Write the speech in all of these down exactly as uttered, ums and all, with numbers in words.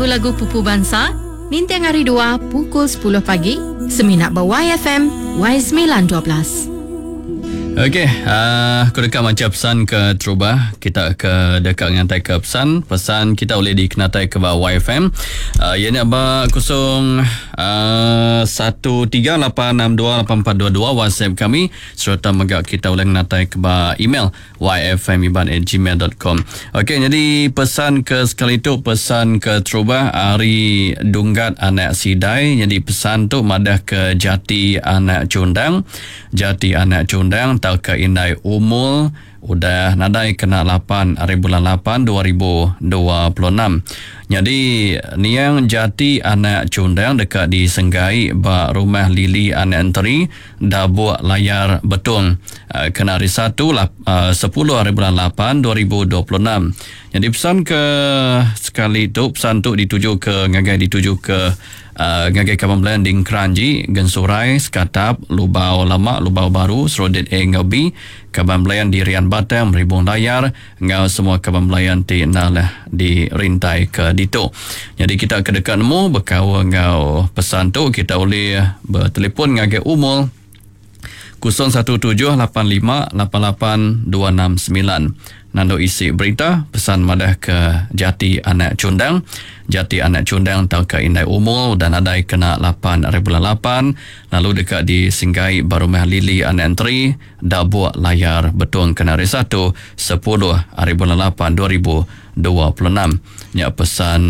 lagu-lagu pupu bansa ninting hari dua pukul sepuluh pagi semina ba Y F M Y sembilan dua belas. Okey, uh, aku deka maca pesan ke terubah. Kita ke deka ngantai ke pesan. Pesan kita boleh dikenatai ke ba Y F M. Uh, ianya ba kosong uh, satu tiga lapan enam dua lapan empat dua dua WhatsApp kami, serta mega kita boleh ngenatai ke ba email y f m iban at gmail dot com. Okey, jadi pesan ke sekali tu, pesan ke terubah ari Dunggat Anak Sidai. Jadi pesan tu madah ke Jati Anak Cundang. Jati Anak Cundang tau ke Indai Umul udah nadai kena lapan hari bulan lapan dua ribu dua puluh enam. Jadi niang Jati Anak Cundang dekat di Senggai ba rumah Lili Anak Enteri Dabuk Layar Betung kena hari satu sepuluh hari bulan lapan dua ribu dua puluh enam. Jadi pesan ke sekali tu, pesan tu dituju ke ngagai dituju ke Uh, ngagai kaban belayan di Keranji, Gensurai, Sekatap, Lubau Lama, Lubau Baru, Serodit A ngau B, kaban belayan di Rian Batang, Meribung Layar, ngau semua kaban belayan ti nalah di rintai ke ditu. Jadi kita ke dekat nemu berkawan ngau pesan tu, kita boleh bertelefon ngagai umul kosong satu tujuh lapan lima lapan lapan dua enam sembilan. Nando isi berita pesan madah ke Jati Anak Cundang. Jati Anak Cundang tau ke Indai Umul dan adai kena lapan hari bulan lapan, lalu dekat di Singgai Barumah Lili Anak Enteri Dabuk Layar Betung kena hari satu sepuluh hari bulan lapan dua ribu dua puluh enam. Nya pesan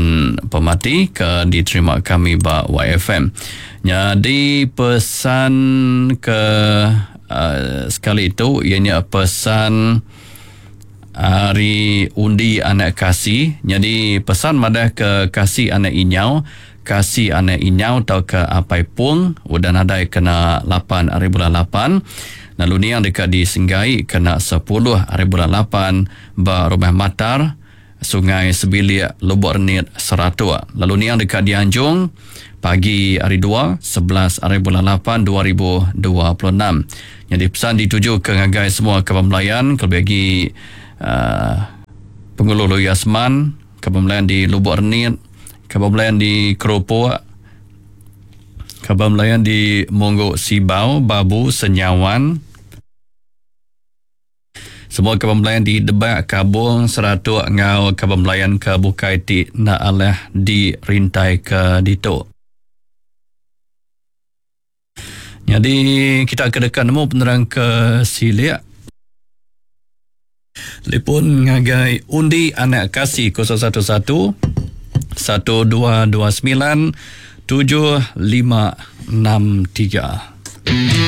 pemati ke diterima kami ba Y F M. Jadi pesan ke uh, sekali itu ianya pesan hari undi anak kasih. Jadi pesan madah ke kasih anak inyau, kasih anak inyau atau ke apai pung udah nadai kena lapan hari bulan lapan. Lalu ni yang dekat di Senggai kena sepuluh hari bulan lapan ba rumah Matar Sungai Sebilik Lubuk Renit Seratuk. Lalu ni yang dekat di Anjung pagi hari dua sebelas hari bulan lapan dua ribu dua puluh enam. Jadi pesan dituju ke ngagai semua kaban belayan, kelebih lagi Uh, Penghulu Yasman, kaban belayan di Lubuk Renit, kaban belayan di Keropok, kaban belayan di Monggok Sibau, Babu, Senyawan, semua kaban belayan di Debak, Kabung, Seratuk, ngau kaban belayan ke Bukai ti nak alah di rintai ke ditu. Jadi kita ke dekat nemu penerang ke Silik. Telefon ngagai undi anak kasih kosong satu satu satu dua dua sembilan tujuh lima enam tiga.